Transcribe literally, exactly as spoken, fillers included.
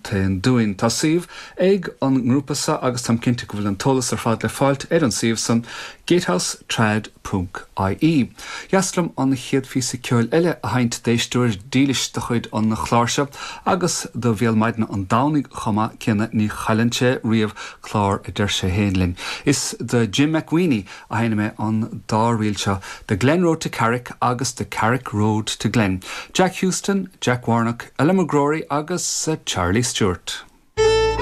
gContae an Dúin. Tá suíomh ag an ngrúpa seo agus táim cinnte go bhfuil an t-eolas ar fad le fáilt ar an suíomh san gatehousetrad ponc I E. Dheas liom an chéad phíosa ceoil eile a sheinnt d'éisteoir dílis de chuid an chláir seo agus do Bhéal Maidine an Domhnaigh chomh maith céanna ní chailleann sé riamh clár a deir sé féin linn. Is do Jim McWeeny a sheinnfidh mé an dá ríl seo, The Glen Road to Carrick agus The Carrick Road to Glen. Jack Houston, Jack Warnock, Ella McGrory agus uh, Charlie Stewart.